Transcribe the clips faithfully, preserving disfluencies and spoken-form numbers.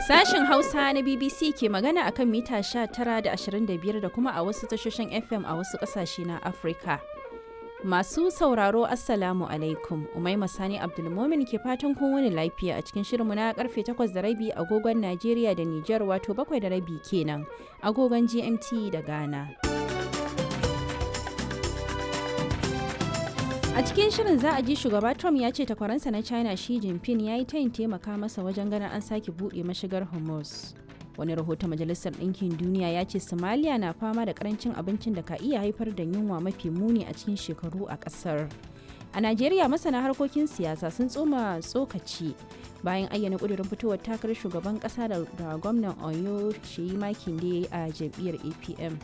Sashen Hausa na B B C ke magana akan mita sha tara da ashirin da biyar da kuma a wasu tashoshin F M a wasu ƙasashe na Afirka. Masu sauraro, Assalamu alaikum. Umaima Sani Abdulmomin ke fatan kun wani lafiya a cikin shirinmu na karfe takwas da rabi agogon Najeriya da Nijar, wato bakwai da rabi kenan agogon G M T da Ghana. A cikin shirin za a ji shugaba Trump ya ce takwaransa na China Xi Jinping ya yi tayin taimaka masa wajen ganin an sake buɗe mashigar Hormuz. Wani rahoton Majalisar Ɗinkin Duniya ya ce Somalia na fama da karancin abincin da ka iya haifar da yunwa mafi muni a cikin shekaru a ƙasar. A Najeriya, masana harkokin siyasa sun tsoma tsokaci bayan ayyana ƙudurin fitowar takarar shugaban ƙasa da gwamnan Oyo Sheyi Makinde a jam'iyyar A P M.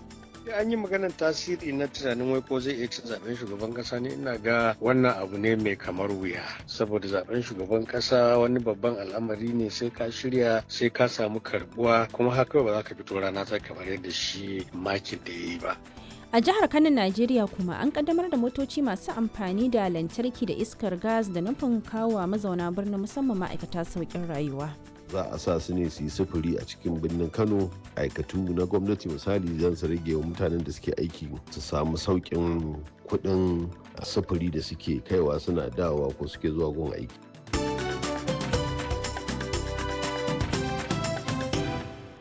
An yi maganar tasiri na tunanin wai ko zai iya cin zaben shugaban kasa ne, ina ga wannan abu ne mai kamar wuya, saboda zaben shugaban kasa wani babban al'amari ne, sai ka shirya, sai ka samu karbuwa, kuma haka ba za ka fito rana ta kamar yadda shi makin da ya yi ba. A jihar Kano, Najeriya kuma, an kaddamar da motoci masu amfani da lantarki da iskar gas da nufin kawo mazauna birnin, musamman ma'aikata, sauƙin rayuwa. Za a sa su ne su yi sufuri a cikin birnin Kano, aikatu na gwamnati misali, zan su rage wa mutanen da suke aiki su samu sauƙin kuɗin sufuri da suke kaiwa suna dawowa ko suke zuwa gun aiki.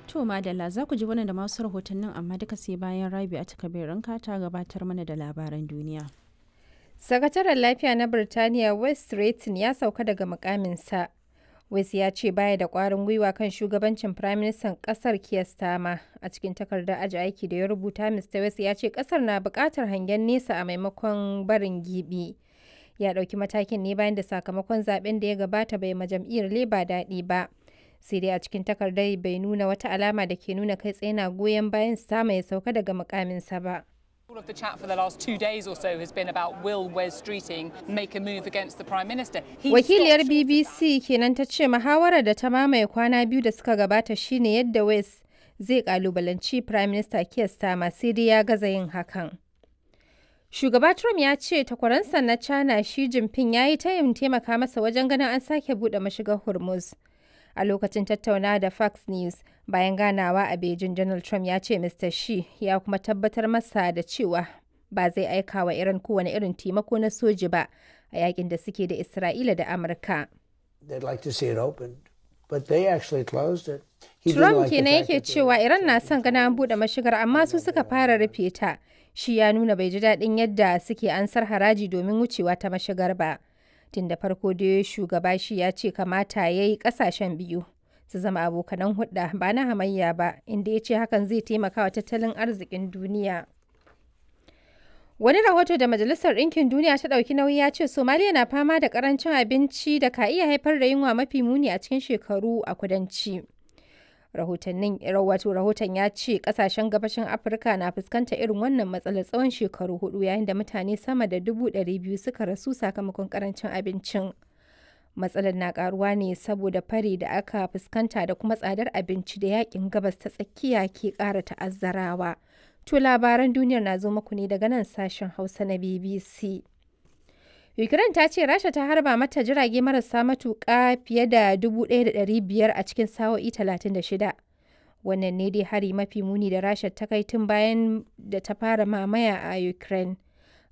To madalla, za ku ji wannan da masu rahotannin, amma duka sai bayan Rabi a Kabirin ta gabatar mana da labaran duniya. Sakataren Lafiya na Birtaniya West Retton ya sauka daga mukaminsa. West ya ce baya da kwarin gwiwa kan shugabancin Firaministan kasar Keir Starmer. A cikin takardar aji aiki da ya rubuta, Mister West ya ce kasar na bukatar hangen nesa a maimakon barin gibi. Ya ɗauki matakin ne bayan da sakamakon zaben da ya gabata bai ma jam'iyyar Labour daɗi ba. Sai dai a cikin takardar bai nuna wata alama da ke nuna kai tsaye na goyon bayan Starmer ya sauka daga mukaminsa ba. All of the chat for the last two days or so has been about will Wes Streeting make a move against the Prime Minister. He Wakiliyar B B C kenan ta ce muhawarar da ta mamaye kwana biyu da suka gabata shine yadda West zai kalubalanci Prime Minister Keir Starmer, sai dai ya gaza yin hakan. Shugaba Trump ya ce takwaransa na China Xi Jinping ya yi tayin taimaka masa wajen ganin an sake buɗe mashigar Hormuz. A lokacin tattaunawa da Fox News bayan ganawa a Beijing, Donald Trump ya ce Mister Xi ya kuma tabbatar masa da cewa ba zai aika wa Iran kowane irin taimako na soji ba a yakin da suke da Isra'ila da Amurka. Trump kenan yake cewa Iran na son ganin an buɗe mashigar, amma su suka fara rufe ta. Shi ya nuna bai ji daɗin yadda suke ansar haraji domin wucewa ta mashigar ba. Tun da farko dai shugaba shi ya ce kamata ya yi kasashen biyu su zama abokanan hudda ba na hamayya ba, inda ya ce hakan zai taimaka wa tattalin arzikin duniya. Wani rahoto da Majalisar Ɗinkin Duniya ta ɗauki nauyi ya ce Somaliya na fama da karancin abinci da ka iya haifar da yunwa mafi muni a cikin shekaru a kudanci. Rahotannin, wato rahoton ya ce kasashen gabashin Afirka na fuskantar irin wannan matsalar tsawon shekaru hudu, yayin da mutane sama da dubu ɗari biyu suka rasu sakamakon karancin abincin. Matsalar na karuwa ne saboda fari da aka fuskanta da kuma tsadar abinci da yakin Gabas ta Tsakiya ke kara ta'azzarawa. To labaran duniyar na zo muku ne daga nan Sashen Hausa na B B C. Ukraine ta ce Rasha ta harba mata jirage marasa matuƙa fiye da dubu ɗaya da ɗari biyar a cikin sa'o'i talatin da shida. Wannan ne dai hari mafi muni da Rasha ta kai tun bayan da ta fara mamaya a Ukraine.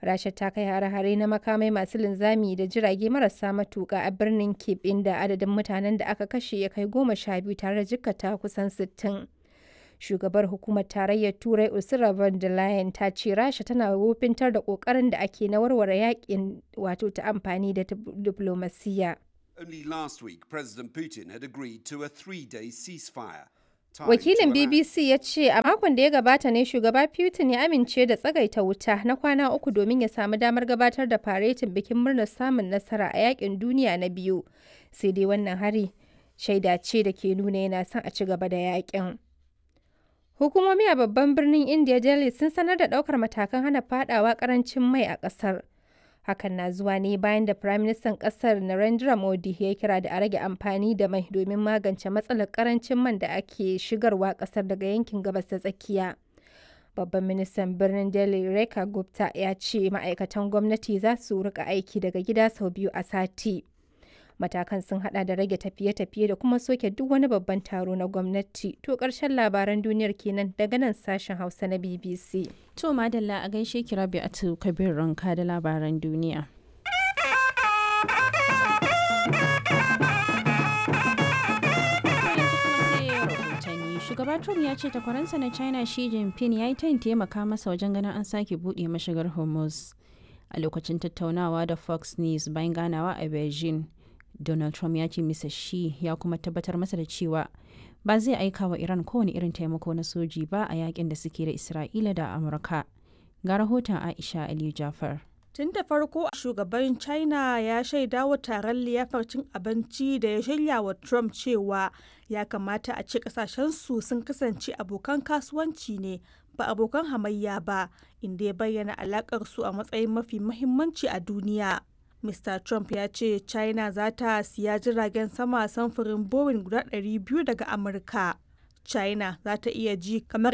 Rasha ta kai hare-hare na makamai masu linzami da jirage marasa matuƙa a birnin Kyiv, inda adadin mutanen da aka kashe ya kai goma sha biyu tare da jikkata kusan sittin. Shugabar Hukumar Tarayyar Turai Ursula von der Leyen ta ce Rasha tana wofintar da kokarin da ake na warware yakin, wato ta amfani da diplomasiya. Only last week, President Putin had agreed to a three-day ceasefire. Wakilin B B C ya ce a makon da ya gabata ne shugaba Putin ya amince da tsagaita wuta na kwana uku domin ya samu damar gabatar da faretin bikin murnar samun nasara a yakin duniya na biyu. Sai dai wannan hari shaida ce da ke nuna yana son a ci gaba da yakin. Hukumomi a babban birnin India, Delhi, sun sanar da ɗaukar matakan hana fadawa karancin mai a ƙasar. Hakan na zuwa ne bayan da Firaministan ƙasar Narendra Modi ya kira da a rage amfani da mai domin magance matsalar karancin man da ake shigarwa ƙasar daga yankin Gabas ta Tsakiya. Babban ministan birnin Delhi Rekha Gupta ya ce ma'aikatan gwamnati za su rika aiki daga gida sau biyu a sati. Matakan sun hada da rage tafiye-tafiye da kuma soke duk wani babban taro na gwamnati. To ƙarshen labaran duniyar kenan daga nan sashen Hausa na B B C. To madalla, a gaishe ki Rabi'atu Kabir Ranka da labaran duniya. Shugaba Trump ya ce takwaransa na China Xi Jinping ya yi tayin taimaka masa wajen ganin an sake buɗe mashigar Hormuz. A lokacin tattaunawa da Fox News bayan ganawa a Beijing, Donald Trump ya ce Mister Xi ya kuma tabbatar masa da cewa ba zai aika wa Iran kowane irin taimako na soji ba a yakin da suke da Isra'ila da Amurka. Ga rahoton Aisha Aliyu Jafar. Tun da farko shugaban China ya shaida wa taron liyafar cin abinci da ya shirya wa Trump cewa ya kamata a ce kasashensu sun kasance abokan kasuwanci ne, ba abokan hamayya ba, inda ya bayyana alakar su a matsayin mafi mahimmanci a duniya. Mister Trump ya ce China za ta siya jiragen sama samfurin Boeing guda ɗari biyu daga Amurka. China za ta iya ji kamar